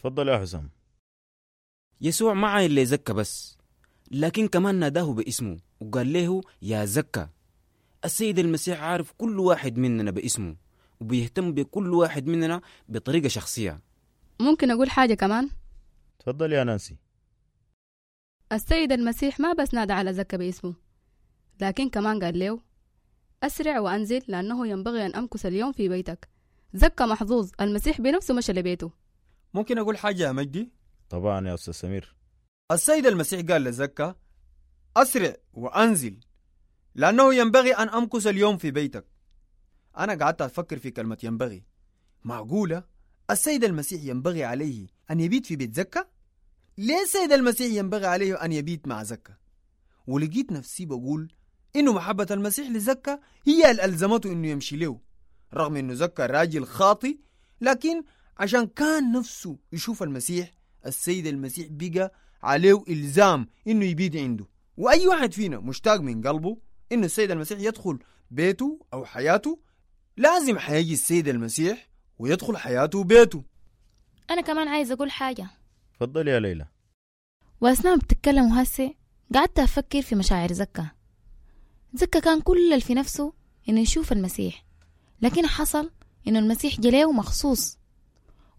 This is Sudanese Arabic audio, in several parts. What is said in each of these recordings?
تفضل يا حسام. يسوع ما عاين لزكا بس، لكن كمان ناداه باسمه وقال له يا زكا. السيد المسيح عارف كل واحد مننا باسمه وبيهتم بكل واحد مننا بطريقة شخصية. ممكن أقول حاجة كمان؟ تفضل يا نانسي. السيد المسيح ما بس نادى على زكا باسمه، لكن كمان قال له أسرع وأنزل لأنه ينبغي أن أمكث اليوم في بيتك. زكا محظوظ، المسيح بنفسه مشى لبيته. ممكن أقول حاجة يا مجدي؟ طبعا يا أستاذ سمير. السيد المسيح قال لزكا أسرع وأنزل لأنه ينبغي أن أمكث اليوم في بيتك. أنا قعدت أفكر في كلمة ينبغي. معقولة السيد المسيح ينبغي عليه أن يبيت في بيت زكا؟ ليه السيد المسيح ينبغي عليه أن يبيت مع زكا؟ ولقيت نفسي بقول إنه محبة المسيح لزكا هي اللي ألزمته إنه يمشي له، رغم إنه زكا راجل خاطي، لكن عشان كان نفسه يشوف المسيح، السيد المسيح بقى عليه إلزام إنه يبيت عنده. وأي واحد فينا مشتاق من قلبه إنه السيد المسيح يدخل بيته أو حياته، لازم حيجي السيد المسيح ويدخل حياته وبيته. أنا كمان عايز أقول حاجة. تفضل يا ليلى. وأثناء ما بتتكلموا هسه قعدت أفكر في مشاعر زكا. زكا كان كل اللي في نفسه إنه يشوف المسيح، لكن حصل إنه المسيح جليه مخصوص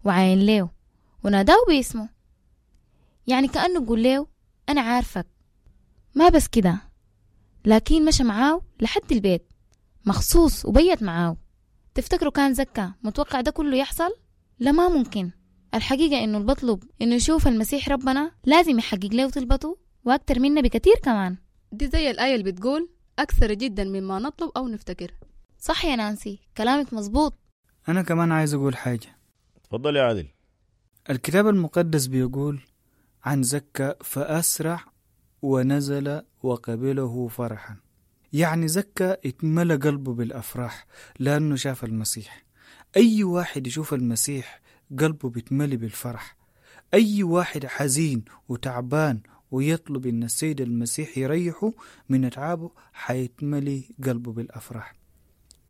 وعاين له وناداه باسمه، يعني كأنه بيقول له أنا عارفك. ما بس كده، لكن مشى معاه لحد البيت مخصوص وبيت معاه. تفتكروا كان زكا متوقع ده كله يحصل؟ لا، ما ممكن. الحقيقة إنه البطلب إنه يشوف المسيح ربنا لازم يحقق له طلبته وأكتر منا بكتير كمان. دي زي الآية اللي بتقول أكثر جدا مما نطلب أو نفتكر. صح يا نانسي، كلامك مظبوط. أنا كمان عايز أقول حاجة. تفضل يا عادل. الكتاب المقدس بيقول عن زكا فأسرع ونزل وقبله فرحا. يعني زكا اتملى قلبه بالأفراح لأنه شاف المسيح. أي واحد يشوف المسيح قلبه بيتملي بالفرح. أي واحد حزين وتعبان ويطلب إن السيد المسيح يريحه من أتعابه حيتملي قلبه بالأفراح.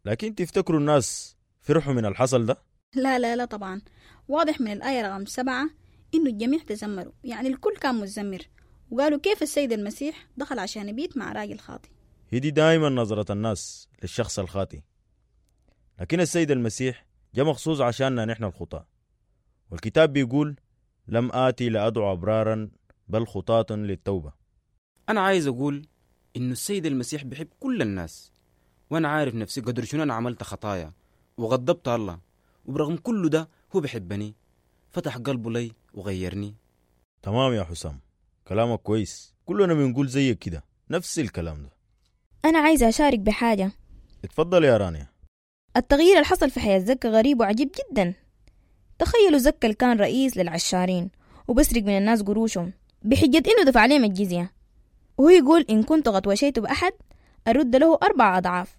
لكن تفتكروا الناس فرحوا من الحصل ده؟ لا لا لا، طبعا واضح من الآية رقم 7 إنه الجميع تذمروا، يعني الكل كان متذمر وقالوا كيف السيد المسيح دخل عشان يبيت مع راجل خاطي. هي دي دايما نظرة الناس للشخص الخاطي، لكن السيد المسيح جاء مخصوص عشاننا نحن الخطاة. والكتاب بيقول لم آتي لأدعو أبرارا بل خطاة للتوبة. أنا عايز أقول إنه السيد المسيح بيحب كل الناس، وأنا عارف نفسي قدر شنو أنا عملت خطايا وغضبت الله، وبرغم كل ده هو بيحبني، فتح قلبه لي وغيرني. تمام يا حسام، كلامك كويس، كلنا بنقول زيك كده نفس الكلام ده. أنا عايزة أشارك بحاجة. اتفضل يا رانيا. التغيير اللي حصل في حياة زكا غريب وعجيب جدا. تخيلوا زكا اللي كان رئيس للعشارين وبسرق من الناس قروشهم بحجة إنه دفع عليهم الجزية، وهو يقول إن كنت قد وشيت بأحد أرد له 4 أضعاف،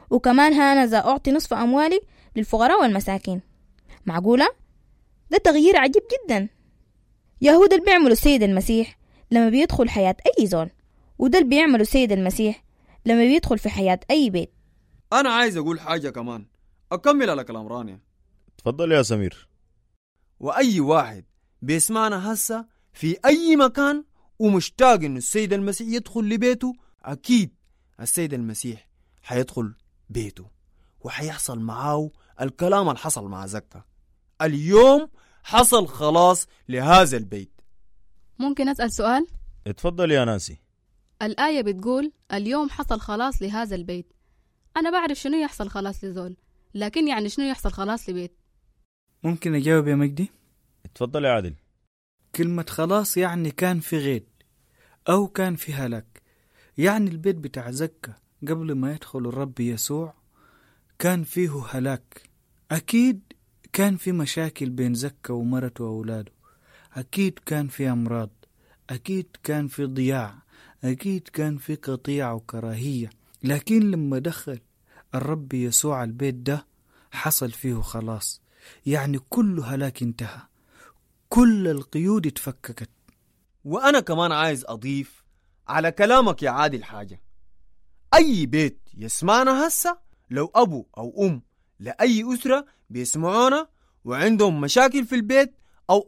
وكمان هانذا أعطي نصف أموالي للفقراء والمساكين. معقولة؟ ده تغيير عجيب جدا. يهود اللي بيعملوا السيد المسيح لما بيدخل حياة أي زول، وده اللي بيعملوا السيد المسيح لما بيدخل في حياة أي بيت. أنا عايز أقول حاجة كمان، أكمل على كلام رانيا. تفضل يا سمير. وأي واحد بيسمعنا هسه في أي مكان ومشتاق إنه السيد المسيح يدخل لبيته، أكيد السيد المسيح حيدخل بيته وحيحصل معاه الكلام اللي حصل مع زكا. اليوم حصل خلاص لهذا البيت. ممكن أسأل سؤال؟ اتفضل يا نانسي. الآية بتقول اليوم حصل خلاص لهذا البيت. أنا بعرف شنو يحصل خلاص لزول، لكن يعني شنو يحصل خلاص لبيت؟ ممكن أجاوب يا مجدي؟ اتفضل يا عادل. كلمة خلاص يعني كان في غيد أو كان في هلاك. يعني البيت بتاع زكا قبل ما يدخل الرب يسوع كان فيه هلاك. أكيد كان في مشاكل بين زكا ومرته وأولاده، أكيد كان في أمراض، أكيد كان في ضياع، أكيد كان في قطيعة وكراهية. لكن لما دخل الرب يسوع البيت ده حصل فيه خلاص، يعني كل هلاك انتهى، كل القيود اتفككت. وأنا كمان عايز أضيف على كلامك يا عادل حاجة. أي بيت يسمعنا هسه، لو أبو أو أم لأي أسرة بيسمعونا وعندهم مشاكل في البيت أو